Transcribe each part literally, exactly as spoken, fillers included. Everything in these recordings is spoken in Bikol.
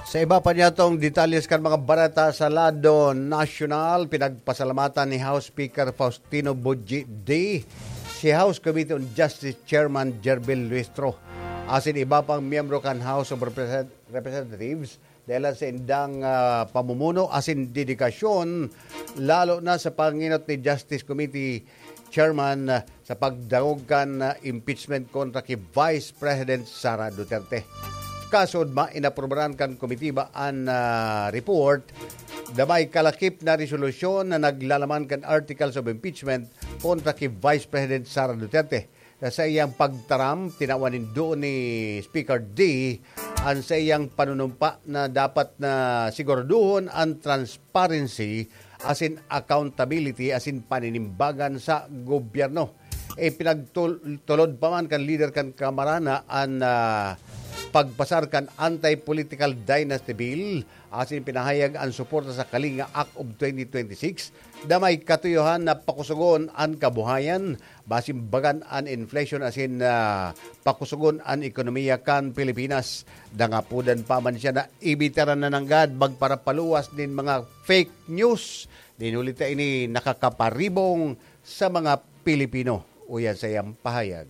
Sa iba pa niyatong detalles kan mga bareta sa lado nasyonal, pinagpasalamatan ni House Speaker Faustino Boji D si House Committee on Justice Chairman Jervil Luistro asin iba pang miyembro kan House of Represent- Representatives dahil sa indang ah, pamumuno asin dedikasyon, lalo na sa panginot ni Justice Committee Chairman ah, sa pagdangog kan ah, impeachment kontra ki Vice President Sara Duterte. Kasod, mainaprobaran kan komitiba an ah, report na may kalakip na resolusyon na naglalaman kan articles of impeachment kontra ki Vice President Sara Duterte. Sa iyang pagtaram, tinawan nindo ni Speaker D ang sa iyang panunumpa na dapat na siguraduhon ang transparency asin accountability asin paninimbagan sa gobyerno. Ipinagtulod pa man kan lider kan Kamara na an ah, pagpasar kan Anti-Political Dynasty Bill asin pinahayag an suporta sa Kalinga Act of twenty twenty-six na may katuyohan na pakusugon an kabuhayan, basin bagan an inflation asin ah, pakusugon an ekonomiya kan Pilipinas. Dangapodan pa man siya na ibitaran na nanggad magparapaluwas nin mga fake news. Dinulita ini nakakaparibong sa mga Pilipino. Uyan sa iyang pahayag.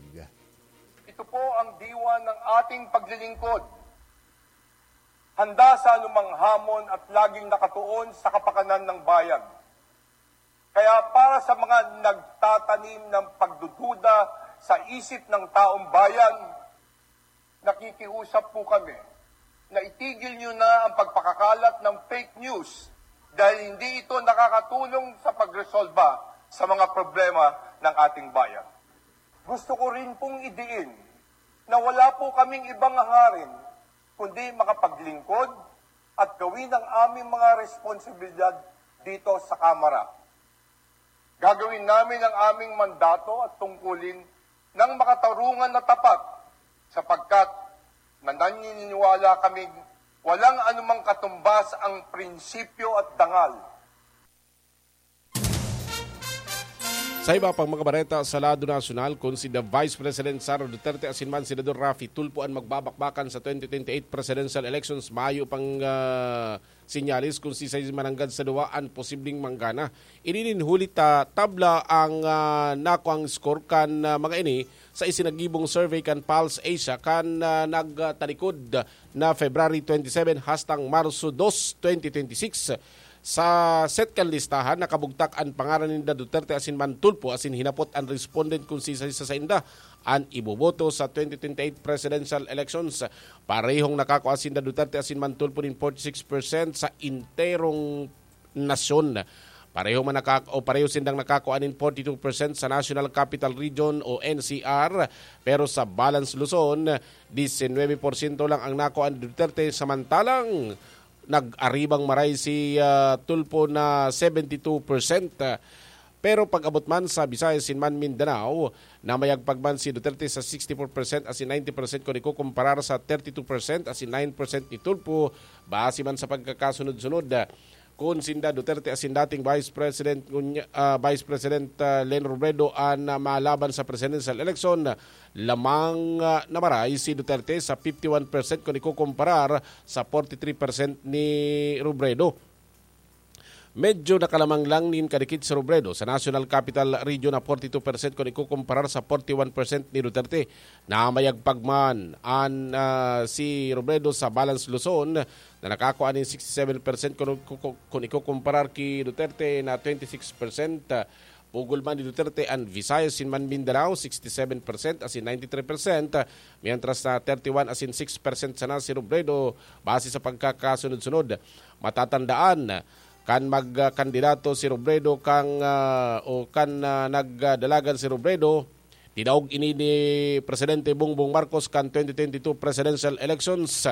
Ito po ang diwa ng ating paglilingkod. Handa sa anumang hamon at laging nakatuon sa kapakanan ng bayan. Kaya para sa mga nagtatanim ng pagdududa sa isip ng taong bayan, nakikiusap po kami na itigil nyo na ang pagpakakalat ng fake news dahil hindi ito nakakatulong sa pagresolba sa mga problema ng ating bayan. Gusto ko rin pong idiin na wala po kaming ibang hangarin kundi makapaglingkod at gawin ang aming mga responsibilidad dito sa Kamara. Gagawin namin ang aming mandato at tungkulin ng makatarungan na tapat, sapagkat naniniwala kaming walang anumang katumbas ang prinsipyo at dangal. Sa iba pang mga bareta sa lado nasyonal, kun si the Vice President Sara Duterte asin man Senador Raffy Tulfo an magbabakbakan sa twenty twenty-eight presidential elections, mayo pang ah, sinyalis kun sisay mananggad sa duwa an posibleng manggana. Ini nin huli ta tabla ang ah, nakuang score kan ah, mga ini sa isinagibong survey kan Pulse Asia kan ah, nagtalikod na February twenty-seven hastang Marso dos, twenty twenty-six. Sa set kan listahan, nakabugtak an pangaran ninda Duterte asin man Tulfo asin hinapot an respondent kun sisay sa sainda an iboboto sa twenty twenty-eight presidential elections. Parehong nakakua sinda Duterte asin man Tulfo nin forty-six percent sa enterong nasyon. Pareho man nakak- o pareho sindang nakakua nin forty-two percent sa National Capital Region o N C R, pero sa Balance Luzon, disinwebe porsyento lang ang nakua ni Duterte, samantalang nag-aribang maray si ah, Tulfo na seventy-two percent. Pero pag-abot man sa Visayas asin man Mindanao, namayagpag man si Duterte sa sixty-four percent asin ninety percent kun ikukumparar sa thirty-two percent asin nine percent ni Tulfo, base man sa pagkakasunod-sunod. Kun sinda Duterte asin dating Vice President, ngunya- ah, Vice President ah, Leni Robredo an ah, malaban sa presidential election, lamang ah, na maray si Duterte sa fifty-one percent kun ikukumparar sa forty-three percent ni Robredo. Medyo nakalamang lang nin kadikit si Robredo sa National Capital Region na forty-two percent kun ikukumparar sa forty-one percent ni Duterte. Namayagpag man an ah, si Robredo sa Balance Luzon na nakakua nin sixty-seven percent kun, kun, kun ikukumparar ki Duterte na twenty-six percent. Pugol man ni Duterte an Visayas asin man Mindanao, sixty-seven percent asin ninety-three percent, mientras na thirty-one asin six percent sana si Robredo base sa pagkakasunod-sunod. Matatandaan, kan magkandidato si Robredo kang ah, o kan ah, nagdalagan si Robredo, dinaog ini ni Presidente Bongbong Marcos kan twenty twenty-two presidential elections.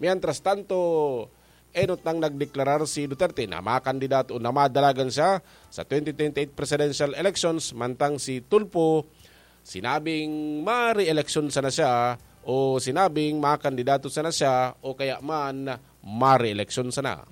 Mientras tanto, enot nang nagdeklarar si Duterte na makandidato o na madalagan siya sa twenty twenty-eight presidential elections, mantang si Tulfo sinabing ma-re-election sana siya o sinabing makandidato sana siya o kaya man ma-re-election sana.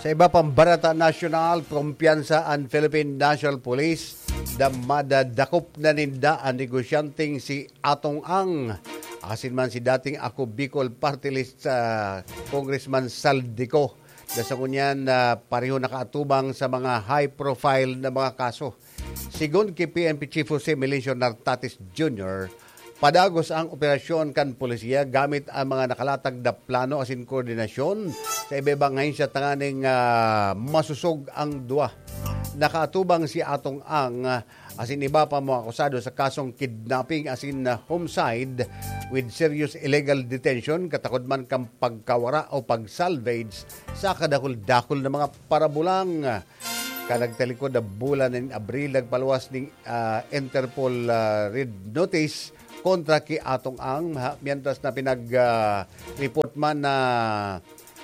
Sa iba pang bareta nasyonal, kumpiyansa an Philippine National Police na madadakop na ninda an negosyanteng si Atong Ang, asin man si dating Ako Bicol Party List, ah, Congressman Zaldy Co. Na sa ngunyan, ah, pareho nakaatubang sa mga high-profile na mga kaso. Sigon ki P N P Chief Jose Melesio Nartates Junior, padagos ang operasyon kan polisiya gamit ang mga nakalatag na plano asin koordinasyon sa iba-ibang ahensya tanganing, ah, masosog ang duwa. Nakaatubang si Atong Ang, ah, asin iba pa mga akusado sa kasong kidnapping asin, ah, homicide with serious illegal detention, katakod man kan pagkawara o pag-salvage sa kadakul-dakul na mga parabulang. Kan nagtalikod na bulan nin Abril, nagpaluwas nin, ah, Interpol, ah, Red Notice kontra ki Atong Ang, ha, mientras na pinag, ah, report man na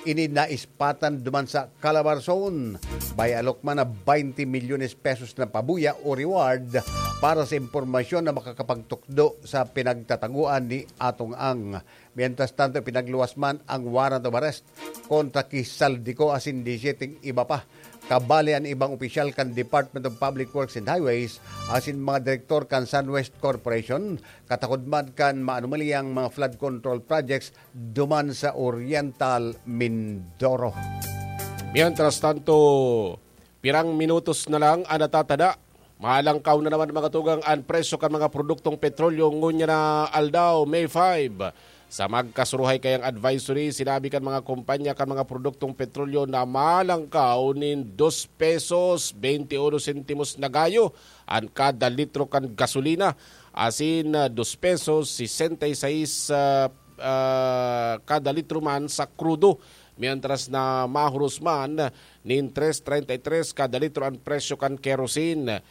ini naispatan duman sa Calabarzon. May alok man na twenty milyones pesos na pabuya o reward para sa impormasyon na makakapagtukdo sa pinagtataguan ni Atong Ang. Mientras tanto, pinagluwas man ang warrant of arrest kontra ki Zaldy Co asin disiyete iba pa. Kabali an ibang opisyal kan Department of Public Works and Highways asin mga direktor kan Sunwest Corporation, katakod man kan maanumalyang mga flood control projects duman sa Oriental Mindoro. Mientras tanto, pirang minutos na lang an natatada. Malangkaw na naman, mga tugang, an presyo kan mga produktong petrolyo ngunyan na aldaw, May five. Sa magkasuruhay kayang advisory, sinabi kan mga kumpanya kan mga produktong petrolyo na malangkaw nin dos pesos, twenty uno sentimos na gayo an kada litro kan gasolina, asin, ah, dos pesos, sesenta y seis, ah, ah, kada litro man sa krudo, mientras na mahuros man nin tres treinta y tres kada litro an presyo kan kerosene.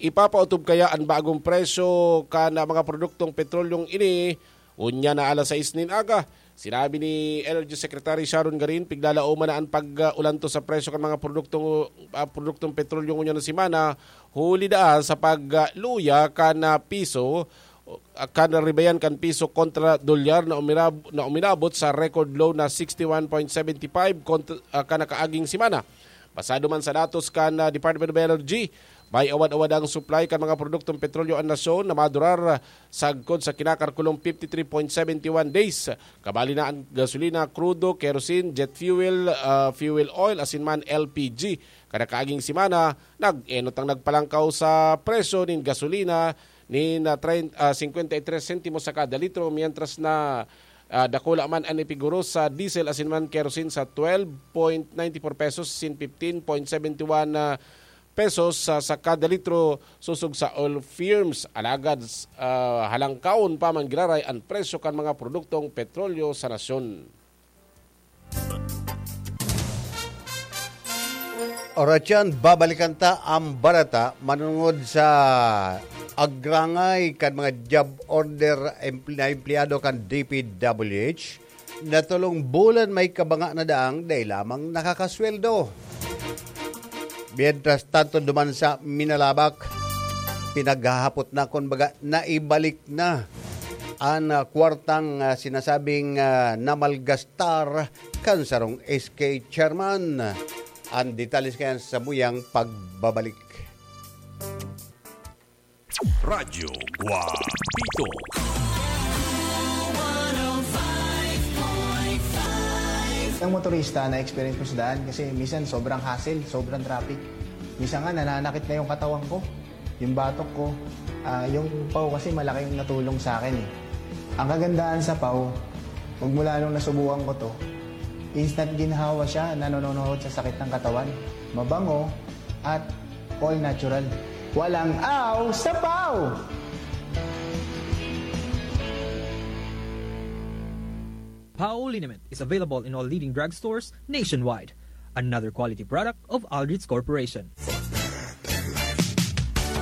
Ipapaotob kaya an bagong presyo kan mga produktong petrolyong ini unya na alas sais nin aga? Sinabi ni Energy Secretary Sharon Garin, piglalaoman na an pag-ulantos sa presyo kan mga produktong, ah, produktong petrolyo ngunyan na semana, huli daan sa pagluya kan, ah, piso, ah, kan ribayan kan piso kontra dolyar na umirab-, na uminabot sa record low na sixty one point seventy five kont-, ah, kan nakaaging semana. Basado man sa datos kan, ah, Department of Energy, may awad-awad ang supply kan mga produktong petrolyo an nasyon na madurar sagkod sa kinakalkulong fifty three point seventy one days. Kabali na an gasolina, krudo, kerosene, jet fuel, ah, fuel oil, asin man L P G. Kada kaaging semana, nag-enot ang nagpalangkaw sa presyo nin gasolina nin, ah, trein-, ah, cincuenta y tres sentimos sa kada litro, mientras na, ah, dakula man an ipiguro sa diesel asin man kerosene sa twelve point ninety four pesos asin fifteen point seventy one, ah, pesos sa, sa kada litro sosog sa oil firms. Alagad, ah, halangkaon pa man giraray an presyo kan mga produktong petrolyo sa nasyon. Oras yan, babalikan ta ang barata manungod sa agrangay kan mga job order empl-, na empleyado kan D P W H. Na tolong bulan may kabanga na daang dai lamang nakakasweldo. Mientras tanto, duman sa Minalabac, pinaghahapot na, kun baga, naibalik na an, ah, kwartang, ah, sinasabing, ah, namalgastar kan sarong S K chairman. Ang detalye kaya sa samuyang pagbabalik. Radyo Guapito. Ang motorista na experience ko sa daan kasi minsan sobrang hassle, sobrang traffic. Minsan nga nananakit na yung katawan ko, yung batok ko. Ah, yung paw kasi malaking natulong sa akin eh. Ang kagandahan sa paw, magmula nung nasubukan ko to, instant ginhawa siya, nanononohot sa sakit ng katawan. Mabango at all natural. Walang aw sa paw! Pao liniment is available in all leading drugstores nationwide. Another quality product of Aldrich Corporation.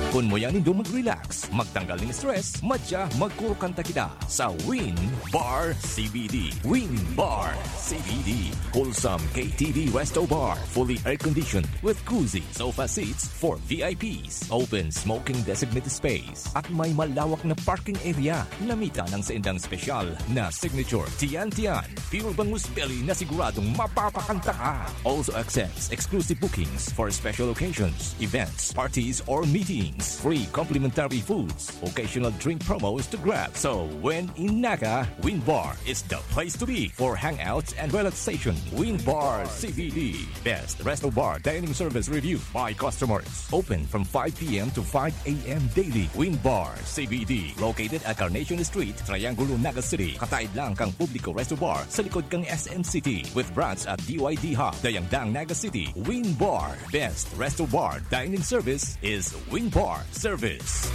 Kun muya nindo mag-relax, magtanggal ning stress, madya magkurukanta kita sa Win Bar C B D. Win Bar C B D. Wholesome K T V Resto Bar, fully air-conditioned with cozy sofa seats for V I Ps. Open smoking designated space at may malawak na parking area. Namita ng saindang special na signature Tiyan Tiyan Pure Bangus Belly na siguradong mapapakanta ka. Also accepts exclusive bookings for special occasions, events, parties, or meeting. Free complimentary foods, occasional drink promos to grab. So when in Naga, Win Bar is the place to be for hangouts and relaxation. Win Bar C B D, best resto bar dining service review by customers. Open from five p m to five a m daily. Win Bar C B D, located at Carnation Street, Triangulo, Naga City. Kataid lang kang Publico Resto Bar sa likod kang S M City, with branch at D Y D Hub, Dayangdang, Naga City. Win Bar, best resto bar dining service is Win Bar Service.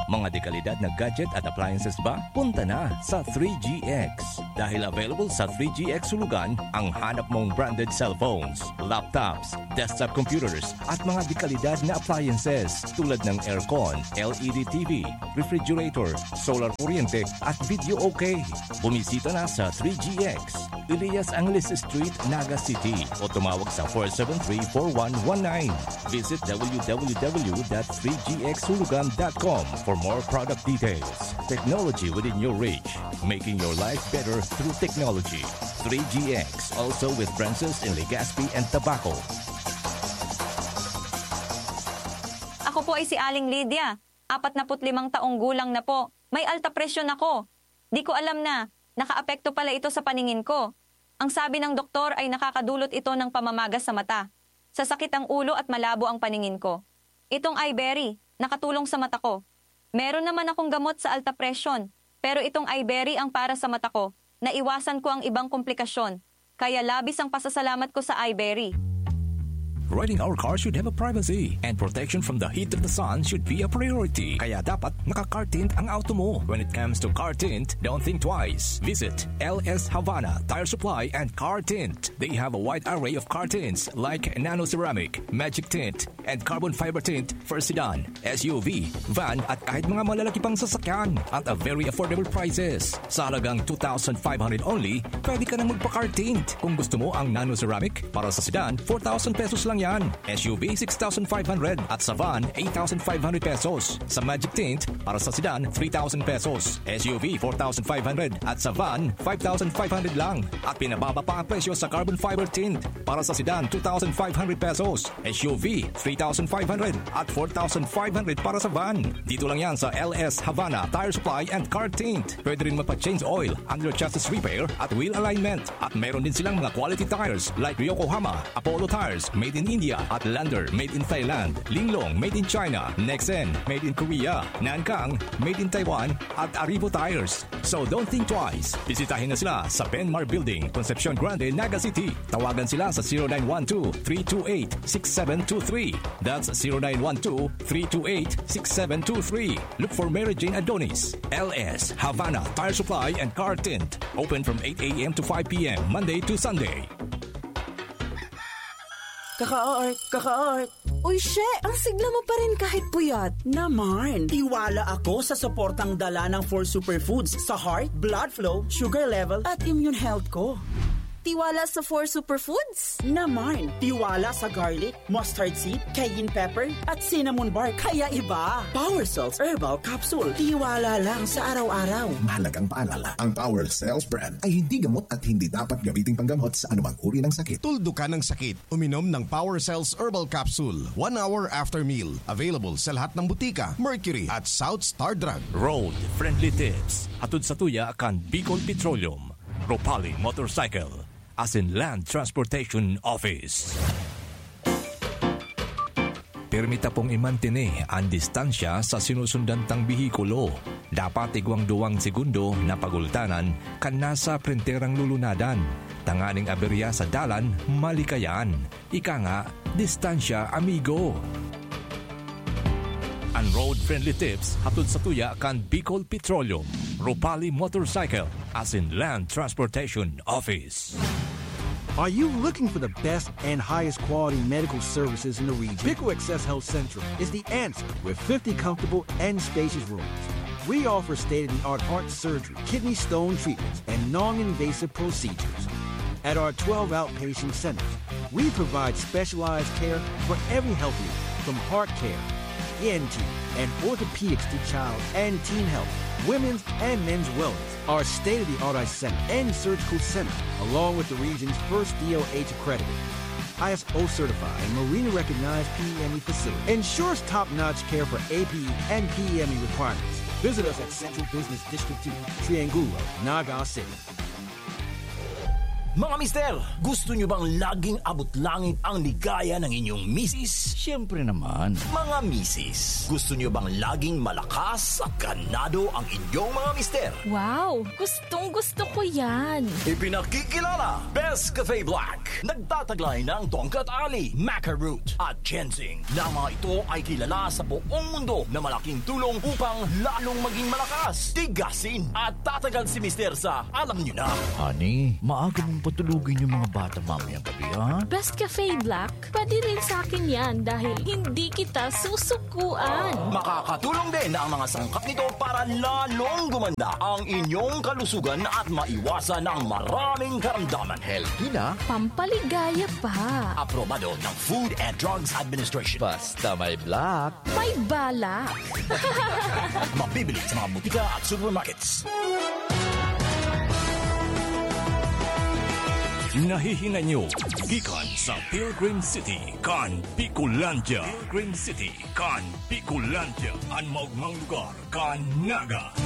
Mga dekalidad na gadget at appliances ba? Punta na sa three G X. Dahil available sa three G X Hulugan ang hanap mong branded cellphones, laptops, desktop computers, at mga dekalidad na appliances tulad ng aircon, L E D T V, refrigerator, solar kuryente, at video okay. Bumisita na sa three G X, Elias Angeles Street, Naga City, o tumawag sa four seven three, four one one nine. Visit w w w dot three g x hulugan dot com for more product details. Technology within your reach, making your life better through technology. Three G X, also with branches in Legazpi and Tabaco. Ako po ay si Aling Lydia, apat na put limang taong gulang na po. May alta presyon ako. Di ko alam na nakaapekto pala ito sa paningin ko. Ang sabi ng doktor ay nakakadulot ito ng pamamagas sa mata. Sasakit ang ulo at malabo ang paningin ko. Itong Iberry, nakatulong sa mata ko. Meron naman akong gamot sa alta presyon, pero itong Iberry ang para sa mata ko. Naiwasan ko ang ibang komplikasyon. Kaya labis ang pasasalamat ko sa Iberry. Riding our car should have a privacy, and protection from the heat of the sun should be a priority. Kaya dapat naka-car tint ang auto mo. When it comes to car tint, don't think twice. Visit L S Havana Tire Supply and Car Tint. They have a wide array of car tints like nano ceramic, magic tint, and carbon fiber tint for sedan, S U V, van at kahit mga malalaki pang sasakyan at a very affordable prices. Sa halagang two thousand five hundred only, pwede ka nang magpa-car tint. Kung gusto mo ang nano ceramic, para sa sedan, four thousand pesos lang yan. S U V, six thousand five hundred at sa van, eight thousand five hundred pesos. Sa magic tint, para sa sedan, three thousand pesos. S U V, four thousand five hundred at sa van, five thousand five hundred lang. At pinababa pa ang presyo sa carbon fiber tint. Para sa sedan, two thousand five hundred pesos. S U V, three thousand five hundred at four thousand five hundred para sa van. Dito lang yan sa L S Havana Tire Supply and Car Tint. Pwede rin magpa-change oil, under chassis repair at wheel alignment. At meron din silang mga quality tires like Yokohama, Apollo Tires, made in India, at Lander, made in Thailand, Linglong, made in China, Nexen, made in Korea, Nankang, made in Taiwan, at Aribo Tires. So don't think twice. Bisitahin na sila sa Benmar Building, Concepcion Grande, Naga City. Tawagan sila sa zero nine one two, three two eight, six seven two three. That's zero nine one two, three two eight, six seven two three. Look for Mary Jane Adonis. L S Havana Tire Supply and Car Tint. Open from eight a m to five p m, Monday to Sunday. Kaka-art, kaka-art. Uy, she! Ang sigla mo pa rin kahit puyat. Naman! Tiwala ako sa suportang dala ng four superfoods sa heart, blood flow, sugar level, at immune health ko. Tiwala sa four superfoods? Naman! Tiwala sa garlic, mustard seed, cayenne pepper, at cinnamon bark. Kaya iba! Power Cells Herbal Capsule. Tiwala lang sa araw-araw. Mahalagang paalala, ang Power Cells brand ay hindi gamot at hindi dapat gamiting panggamot sa anumang uri ng sakit. Tuldukan ang sakit. Uminom ng Power Cells Herbal Capsule one hour after meal. Available sa lahat ng butika, Mercury at South Star Drug. Road Friendly Tips. Hatod sa tuya kan Bicol Petroleum, Ropali Motorcycle, asin Land Transportation Office. Pirmi tapong imantene an distansya sa sinusundan tang behikulo. Dapat igwang duwang segundo na pagultanan kan nasa prenterang lulunadan, tanganing aberya sa dalan malikayan. Ika nga, distansya, amigo. An Road Friendly Tips hatod sa tuya kan Bicol Petroleum, Ropali Motorcycle, asin Land Transportation Office. Are you looking for the best and highest quality medical services in the region? Pico Access Health Central is the answer with fifty comfortable and spacious rooms. We offer state of the art heart surgery, kidney stone treatments, and non invasive procedures. At our twelve outpatient centers, we provide specialized care for every health need, from heart care, E N T, and orthopedics to child and teen health, women's and men's wellness. Our state of the art eye center and surgical center, along with the region's first D O H accredited I S O certified and Marina recognized P E M E facility. Ensures top-notch care for A P E and P E M E requirements. Visit us at Central Business District two, Triangulo, Naga City. Mga mister, gusto nyo bang laging abot langit ang ligaya ng inyong misis? Siyempre naman. Mga misis, gusto nyo bang laging malakas at ganado ang inyong mga mister? Wow! Gustong gusto ko yan! Ipinakikilala, Best Cafe Black. Nagtataglay ng tongkat ali, maca root, at ginseng, na mga ito ay kilala sa buong mundo na malaking tulong upang lalong maging malakas, tigasin, at tatagal si mister sa alam nyo na. Honey, maaga mong patulugin yung mga bata mamayang gabi, ha? Best Cafe Black, pwede rin sa akin yan dahil hindi kita susukuan. Makakatulong din ang mga sangkap nito para lalong gumanda ang inyong kalusugan at maiwasan ang maraming karamdaman. Healthy na. Pampaligaya pa. Aprobado ng Food and Drugs Administration. Basta may black. May balak. Mabibili sa mga butika at supermarkets. Nahihinay nyo gikan sa Pilgrim City kan Bicolandia. Pilgrim City kan Bicolandia. An maugmang lugar kan Naga.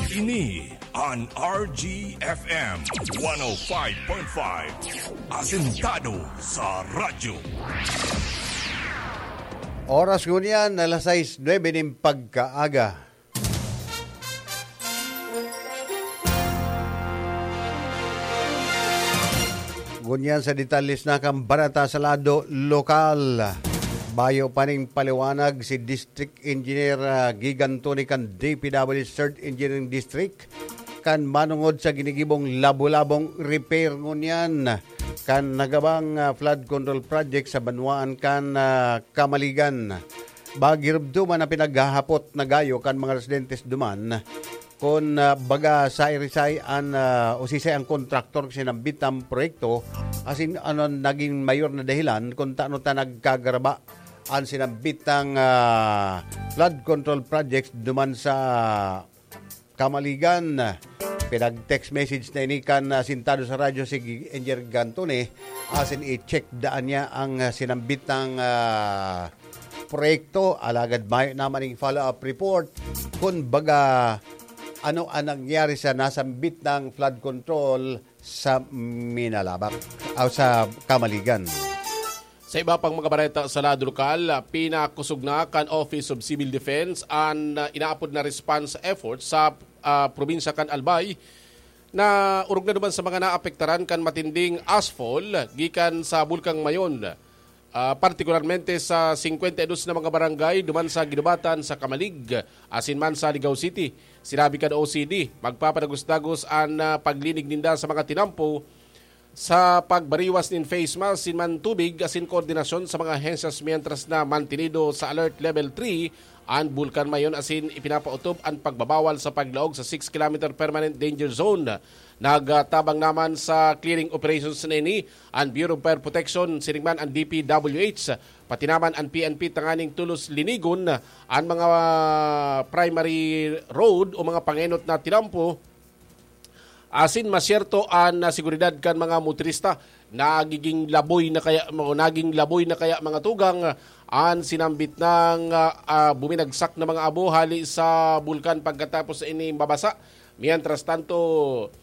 Ini an R G F M one oh five point five. Asentado sa radyo. Oras ngunyan, alas sais nuebe nin pagkaaga. Ngunyan sa detalles na kan bareta sa lado lokal. Bayo pa ning paliwanag si District Engineer, ah, Gigan Tony kan D P W Third Engineering District kan manongod sa ginigibong labo-labong repair ngunyan kan nagabang, ah, flood control project sa banwaan kan, ah, Camaligan. Bagirubdo man na pinaghahapot na gayo kan mga residentes duman, kun, ah, baga siisay an, ah, o siisay ang kontraktor sa sinambit na proyekto, asin ano an nagin mayor na dahilan kun tano ta nagkagaraba an sinambit na, ah, flood control projects duman sa Camaligan. Pinag-text message na ini kan, ah, sentado sa radyo si Gi-, Engineer Gantone, asin i-check daan niya ang, ah, sinambit na, ah, proyekto. Alagad mayo naman ning follow-up report. Kun baga, ano ang nangyari sa nasambit na flood control sa Minalabac, o sa Camaligan? Sa iba pang mga bareta sa lado lokal, ah, pinakusog na kan Office of Civil Defense an, ah, inaapod na response effort sa, ah, probinsya kan Albay, na orog na duman sa mga naapektaran kan matinding ashfall gikan sa Bulkang Mayon, ah, partikularmente sa singkwenta y dos na mga barangay duman sa Guinobatan, sa Camalig, asin man sa Ligao City. Sinabi kan O C D, magpapadagos-dagos an, ah, paglinig ninda sa mga tinampo sa pagbariwas nin face mask, sin man tubig asin koordinasyon sa mga ahensyas, mientras na mantenido sa Alert Level three an Bulkan Mayon asin ipinapaotob an pagbabawal sa paglaog sa six kilometer permanent danger zone. Nagtabang naman sa clearing operations na ini an Bureau of Fire Protection, siring man an D P W H, pati naman an P N P, tanganing tolos linigon an mga primary road o mga pangenot na tinampo asin masyerto an, ah, seguridad kan mga motorista. Nagiging laboy na kaya, naging laboy na kaya, mga tugang, an sinambit na, ah, buminagsak na mga abo hali sa bulkan pagkatapos sa ini mabasa. Mientras tanto,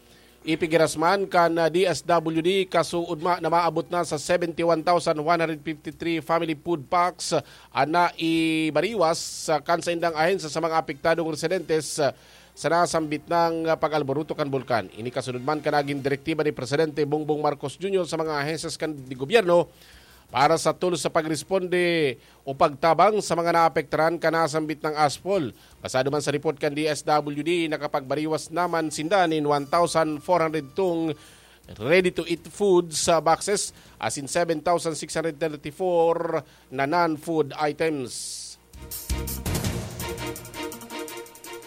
ipigirasman kan, ah, D S W D kasuodma na maabot na sa seventy one thousand one hundred fifty three family food packs, ah, na ibariwas, ah, kan saindang ahensya sa mga apektadong residentes, ah, sa nasambit na, ah, pag-alboroto kan bulkan. Ini kasunod man kan nagin direktiba ni Presidente Bongbong Marcos Junior sa mga ahensyas kan di gobyerno para sa tolos sa pagresponde o pagtabang sa mga naapektaran kan nasambit na ashfall. Basado man sa report kan D S W D, nakapagbariwas naman sinda nin one thousand four hundred tong ready-to-eat food sa boxes, asin seven thousand six hundred thirty-four na non-food items.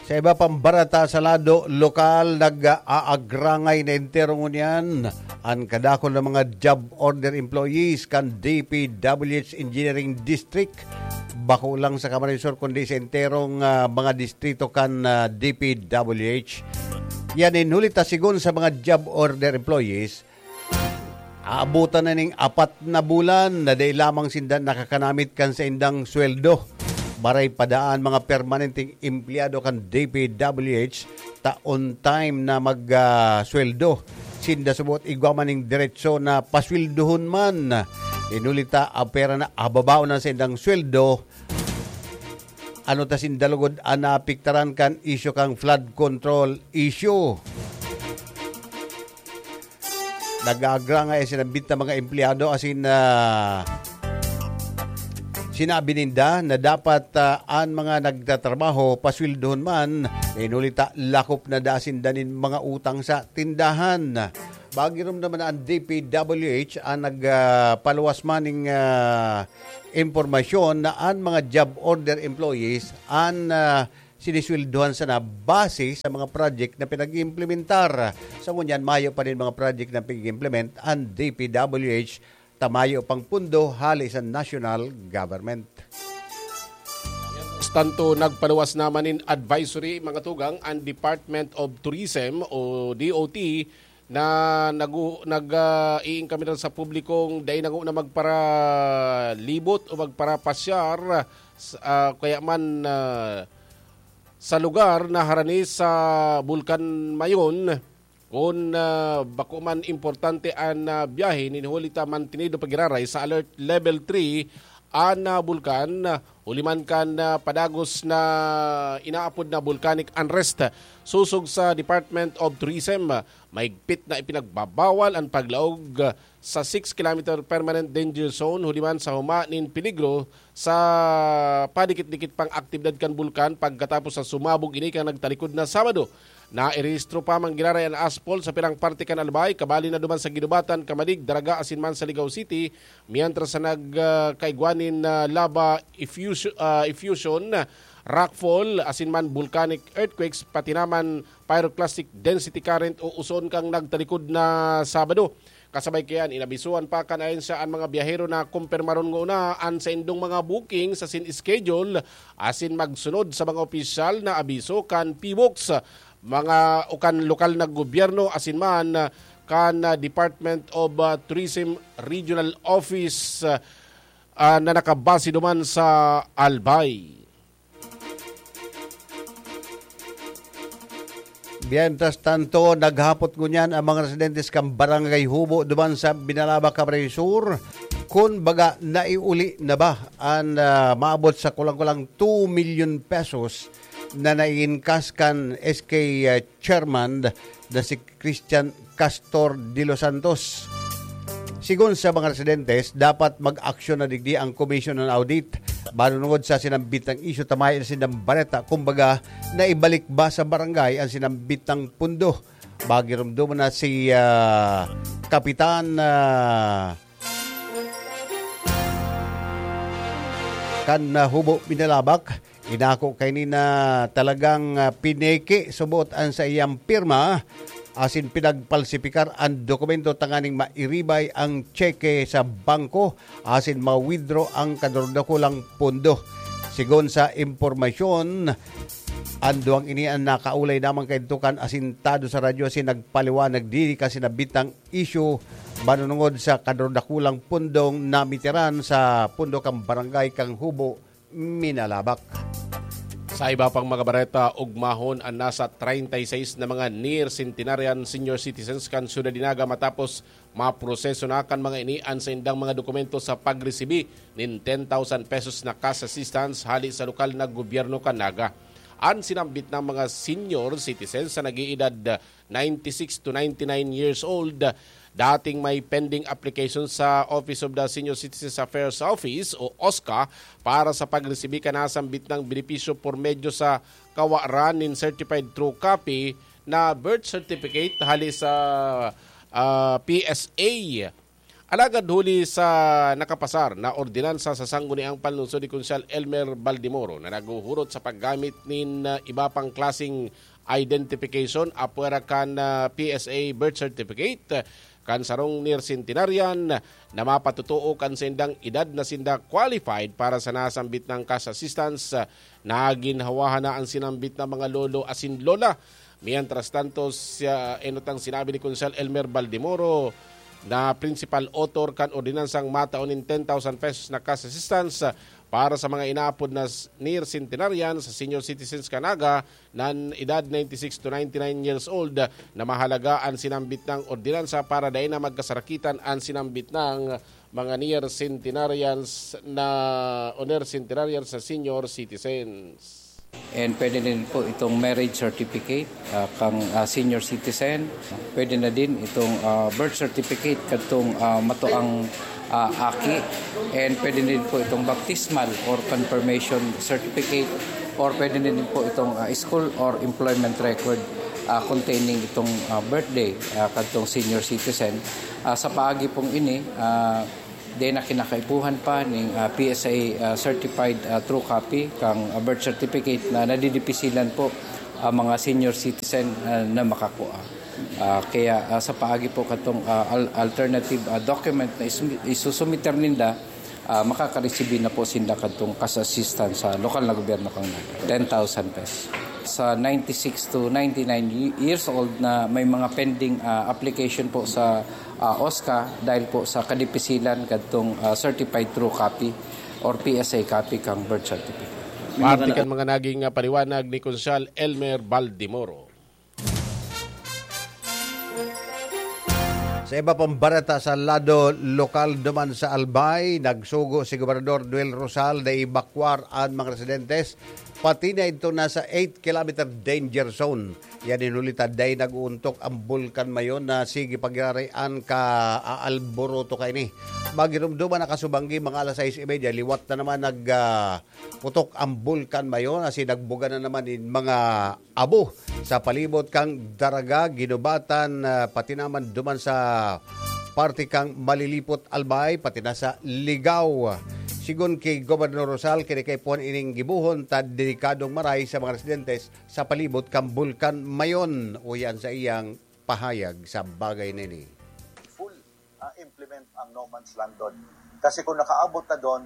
Sa iba pang bareta sa lado lokal, nag-aagrangay na entero ngunyan an kadakul na mga job order employees kan D P W H Engineering District. Bako lang sa Camarines Sur, kundi sa enterong, ah, mga distrito kan, ah, D P W H. Yan, in huli ta, sigon sa mga job order employees, Aabutan na ning apat na bulan na dai lamang sinda nakakanamit kan saindang sweldo. Baray pa daan mga permanenteng empleyado kan D P W H ta on time na mag, ah, sweldo. Sinda subot igwa man ning diretso na pasweldohon man. Inuli ta, apera na ababaw na saindang sweldo. Ano ta sinda lugod an naapektaran kan isyu kan flood control issue? Nag-aagrangay sinambit na mga empleyado asin, ah, sinabi ninda na dapat, ah, an mga nagtatrabaho pasweldohon man, inuli ta lakop na da sinda nin mga utang sa tindahan. Bagiromdom na an D P W H an nag, ah, paluwas man ning, ah, impormasyon na an mga job order employees an, ah, sinisweldohan sana base sa mga project na pinag-iimplementar. Sa ngunyan, mayo pa rin mga project na pinag-implement ang D P W H ta mayo pang pundo hali sa national government. Tanto nagpaluwas naman nin advisory, mga tugang, ang Department of Tourism o D O T na nagu-, nag, ah, iinkaminar sa publikong dai na nguna magparalibot o magparapasyar s-, ah, kaya man, ah, sa lugar na harani sa Bulkan Mayon, kun, ah, bako man importante an, ah, biyahe, nin huli ta mantinido pa giraray sa Alert Level three an, ah, bulkan, huli man kan, ah, padagos na inaapod na volcanic unrest. Sosog sa Department of Tourism, mahigpit na ipinagbabawal an paglaog sa six kilometer permanent danger zone huli man sa huma nin peligro sa padikit-dikit pang aktibidad kan bulkan pagkatapos sa sumabog ini kan nagtalikod na Sabado. Nairehistro pa man giraray an asphalt sa pirang parte kan Albay, kabali na duman sa Guinobatan, Camalig, Daraga asin man sa Ligao City, mientras sa nag, ah, kaigwa nin, ah, lava effusion, ah, effusion, rockfall asin man volcanic earthquakes, pati naman pyroclastic density current o uson kang nagtalikod na Sabado. Kasabay kayan, inabisuhan pa kan ahensya an mga biyahero na kumpirmaron nguna an saindong mga booking sa sin schedule asin magsunod sa mga opisyal na abiso kan P box, mga o kan lokal na gobyerno asin man kan, ah, Department of, ah, Tourism Regional Office, ah, ah, na nakabase duman sa Albay. Mientras tanto, naghapot ngunyan ang mga residentes kan Barangay Hubo duman sa Binalaba, Camarines Sur, kun baga naiuli na ba an, ah, maabot sa kulang-kulang two million pesos na naiinkas kan S K, ah, chairman na si Christian Castor de los Santos. Sigon sa mga residentes, dapat mag-aksyon na digdi ang Commission on Audit manunungod sa sinambit na isyu ta mayo na sindang bareta, kumbaga, naibalik ba sa barangay ang sinambit na pundo. Bagiromdom na si, ah, Kapitan, ah, kan, ah, Hubo Binalabak. Inako kaini na talagang, ah, pineke subot an saiyang pirma asin pinagpalsipikar an dokumento tanganing mairibay ang tseke sa bangko asin ma-withdraw ang kadurdakulang pondo. Sigon sa impormasyon, an duwang ini an nakaulay naman kaidto kan asintado sa radyo asin nagpaliwanag diri kan sinabitang isyu manunungod sa kadurdakulang pondong namitiran sa pondo kan barangay kan Hubo, Minalabak. Sa iba pang mga bareta, ugmahon an nasa treinta y seis na mga near centenarian senior citizens kan Syudad de Naga matapos maproseso na kan mga ini an saindang mga dokumento sa pagresibi nin ten thousand pesos na cash assistance hali sa lokal na gobyerno kan Naga. An sinambit na mga senior citizens sa nag-iedad ninety-six to ninety-nine years old, dating may pending application sa Office of the Senior Citizens Affairs Office o OSCA para sa pagresibi kan nasambit na benepisyo por medyo sa kawaran nin certified true copy na birth certificate hali sa, ah, P S A. Alagad huli sa nakapasar na ordinansa sa Sangguniang Panlungsod ni Konsyal Elmer Baldemoro na naghuhurot sa paggamit nin, ah, iba pang klaseng identification apwera kan, ah, P S A birth certificate kan sarong near centenarian na mapatotoo kan saindang edad na sinda qualified para sa nasambit na cash assistance, ah, naginhawahan na an sinambit na mga lolo asin lola. Mientras tanto, siya, enot ang sinabi ni Konsyal Elmer Baldemoro, na principal author kan ordinansang matao nin ten thousand pesos na cash assistance para sa mga inaapod na s-, near centenarian sa senior citizens kan Naga nan edad ninety-six to ninety-nine years old na mahalaga an sinambit nang ordinansa para dai na magkasarakitan an sinambit nang mga near centenarians na o near centenarians na senior citizens. And pwede din po itong marriage certificate ah, kang ah, senior citizen. Pwede na din itong ah, birth certificate kadtong ah, matuang ah, aki. And pwede din po itong baptismal or confirmation certificate, or pwede din po itong ah, school or employment record ah, containing itong ah, birthday ah, kadtong senior citizen. Ah, sa paagi pong ini, ah, di na kinakaipuhan pa ning ah, P S A ah, certified ah, true copy kang ah, birth certificate na nadidipisilan po ang mga senior citizen ah, na makakua. Ah, kaya ah, sa paagi po katong ah, al- alternative ah, document na isumi- isusumiter ninda, ah, makakaresibi na po sinda kadtong cash assistance sa lokal na gobyerno kang Naga. Ten thousand pesos. Sa ninety-six to ninety-nine y- years old na may mga pending ah, application po sa ah, OSCA dahil po sa kadipisilan kadtong ah, certified true copy or P S A copy kang birth certificate. Parte kan mga naging ah, paliwanag ni Konsyal Elmer Baldimoro. Sa iba pang bareta sa lado lokal duman sa Albay, nagsugo si Gobernador Noel Rosal na evacuar an mga residentes, pati na idto na sa eight kilometer danger zone. Yan in huli ta, dai nag-uuntok ang Bulkan Mayon na sige pagiraray an ka-aalburuto kaini. Magirumduman na kasubanggi mga alas sais y media, liwat na naman nag, ah, putok ang Bulkan Mayon, asin nagbuga na naman in mga abo sa palibot kang Daraga, Ginubatan, ah, pati naman duman sa parte kang Malilipot, Albay, pati na sa Ligao. Sigon ki Gobernador Rosal, kinikaipuhan ining gibohon ta delikadong maray sa mga residentes sa palibot kan Bulkan Mayon. Uyan sa iyang pahayag sa bagay na ini. Full ah, implement ang no man's land doon. Kasi kung nakaabot na doon,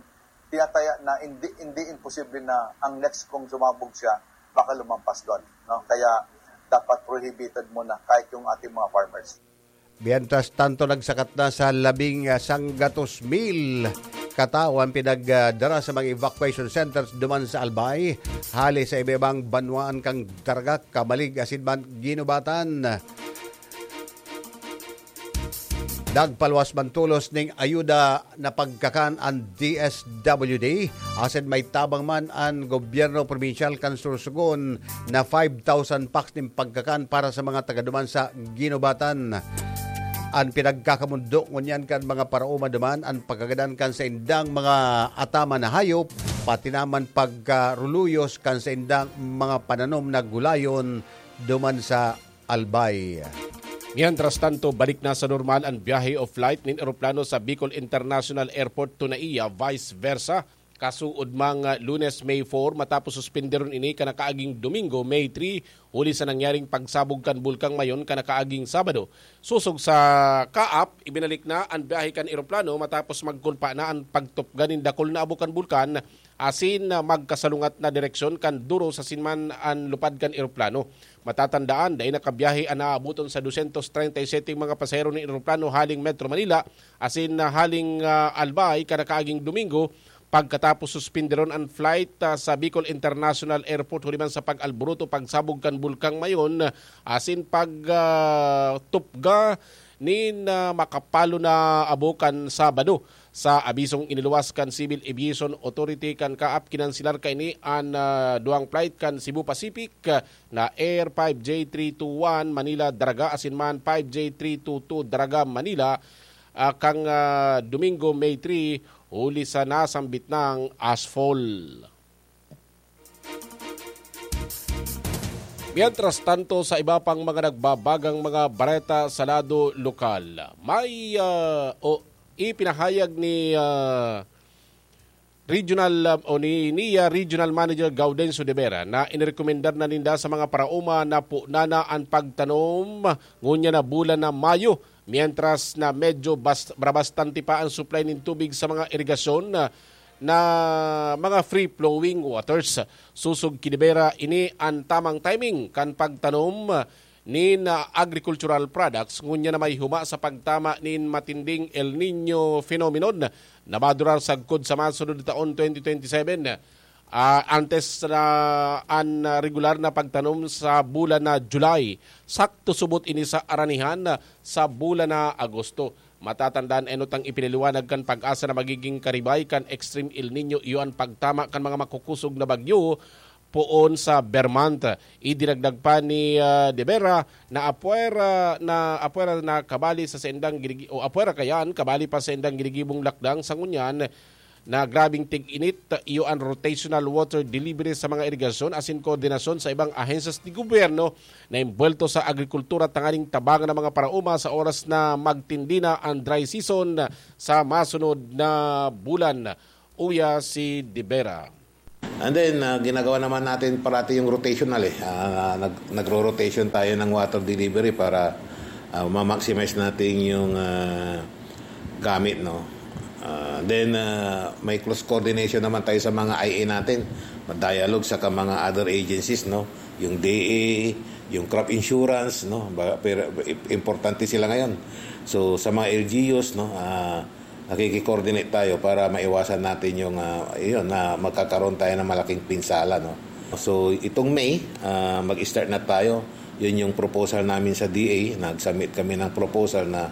tiyataya na hindi, hindi imposible na ang next kung sumabog siya, baka lumampas doon. No? Kaya dapat prohibited muna kahit yung ating mga farmers. Mientras tanto, nagsakat na sa labing sanggatos mil katao ang pinagdara sa mga evacuation centers duman sa Albay, hali sa iba-ibang banwaan kang Daraga, Camalig asin man Ginubatan. Nagpaluwas man tolos ning ayuda na pagkakan an D S W D, asin may tabang man an gobyerno probinsyal kan Sorsogon na five thousand packs nin pagkakan para sa mga taga duman sa Ginubatan. An pinagkakamundo ngunyan kan mga paraoma duman an pagkagadan kan saindang mga ataman na hayop, pati naman pagkaruluyos kan saindang mga pananom na gulayon duman sa Albay. Mientras tanto, balik na sa normal an biyahe o flight nin eroplano sa Bicol International Airport to Naiya, vice versa. Kasuod mang Lunes, May four, matapos suspenderon ini kan nakaaging Domingo, May three, huli sa nangyaring pagsabog kan Bulkang Mayon kan nakaaging Sabado. Sosog sa kaap, ibinalik na an biyahe kan eroplano matapos magkulpa na an pagtupga nin dakul na abo kan bulkan asin magkasalungat na direksyon kan duros asin man an lupad kan eroplano. Matatandaan, dai nakabiyahe an naabuton sa dosyentos treinta y sete mga pasahero nin eroplano haling Metro Manila asin haling ah, Albay kan nakaaging Domingo, pagkatapos suspenderon an flight ah, sa Bicol International Airport huli man sa pag-alboroto pagsabog kan Bulkang Mayon asin pag ah, tupga nin ah, makapalo na abo kan Sabado. Sa abisong iniluwas kan Civil Aviation Authority kan kaap, kinanselar kaini an ah, duwang flight kan Cebu Pacific ah, na Air five J three two one Manila Daraga asin man five J three two two Daraga Manila ah, kang ah, Domingo, May three, huli sa nasambit nang asphalt. Mientras tanto, sa iba pang mga nagbabagang mga bareta sa lado lokal, may ah, o ipinahayag ni ah, Regional ah, o ni NIA Regional Manager Gaudencio de Vera na inirekomendar na ninda sa mga paraoma na punanan an pagtanom ngunyan na bulan na Mayo, mientras na medyo bas- bastante pa ang supply nin tubig sa mga irigasyon na, na mga free-flowing waters. Sosog ki de Vera, ini an tamang timing kan pagtanom nin, ah, agricultural products, ngunyan na may huma sa pagtama nin matinding El Niño phenomenon na madurar sagkod sa masunod na taon, twenty twenty-seven. Ah, antes na an, ah, regular na pagtanom sa bulan na July, sakto subot ini sa aranihan sa bulan na Agosto. Matatandaan, enot ang ipinaliwanag kan PAGASA na magiging karibay kan Extreme El Niño iyo an pagtama kan mga makukusog na bagyo poon sa Vermont. Idinagdag pa ni, ah, De Vera na apwera, na apwera na kabali sa saindang ginigi-, o apwera kayan, kabali pa sa saindang ginigibong lakdang sa ngunyan na grabing tig-init, iyo an rotational water delivery sa mga irigasyon asin koordinasyon sa ibang ahensyas ni gobyerno na imbuwelto sa agrikultura tanganing tabangan ang mga paraoma sa oras na magtindi na ang dry season sa masunod na bulan, uya si De Vera. And then, ah, ginagawa naman natin parati yung rotational eh. Ah, nag-, nagro-rotation tayo ng water delivery para, ah, ma-maximize natin yung, ah, gamit, no? Ah, then, ah, may close coordination naman tayo sa mga I A natin. Ma-dialogue sa ka mga other agencies, no? Yung D A, yung crop insurance, no? Ba-, pero importante sila ngayon. So, sa mga L G Us, no? Ah, nakiki-coordinate tayo para maiwasan natin yung, ah, yun, na magkakaroon tayo ng malaking pinsala, no? So, itong May, ah, mag-start na tayo. Yun yung proposal namin sa D A. Nag-submit kami ng proposal na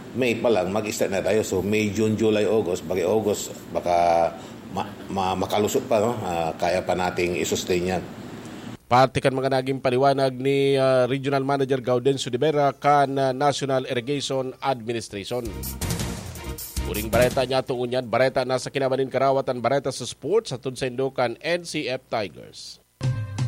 May pa lang, mag-start na tayo. So, May, June, July, August, bagay August, baka ma-, ma-, makalusot pa, no? Ah, kaya pa nating i-sustain yan. Parte kan mga naging paliwanag ni, ah, Regional Manager Gaudencio de Vera kan, ah, National Irrigation Administration. Uring bareta niya tungon yan, bareta na sa kinaban nin karawatan, bareta sa sports, hatod saindo kan N C F Tigers.